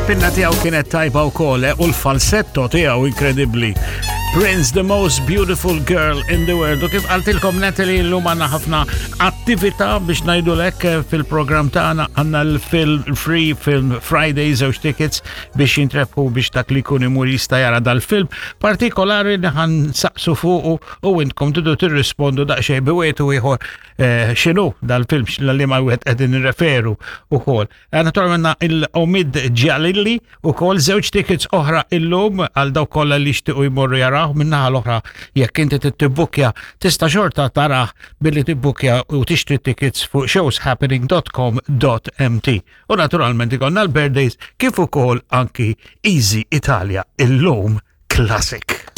Il-pinna tiegħu kienet tajba wkoll eh, u l-falsetto tiegħu inkredibbli. Prince, the most beautiful girl in the world. U kif qaltilkom Natalie llum għandna ħafna attività biex ngħidu lek eh, fil-programm tagħna għandna l-Free Film Friday żewġ tickets biex jintrebħu biex dak li jkun imur jista' jara dal-film partikolari li ħan saqsu fuqu u intkom tridu tirrispondu daqsxejn bi wieħed u ieħor eh, x'inhu dal-film li ma wieħed qegħdin nirreferu ukoll. Eh, naturalment il-Omid Ġalilli ukoll żewġ tickets oħra illum għal dawk kollha li jixtiequ jmorru jaraw min-naħa l-oħra jekk inti tibbukkja tista' xorta tarah billi tibbukja u tixtri tickets fuq showshappening.com.mt. U naturalment ikollna l-birthdays kif ukoll anki Easy Italia illum Classic.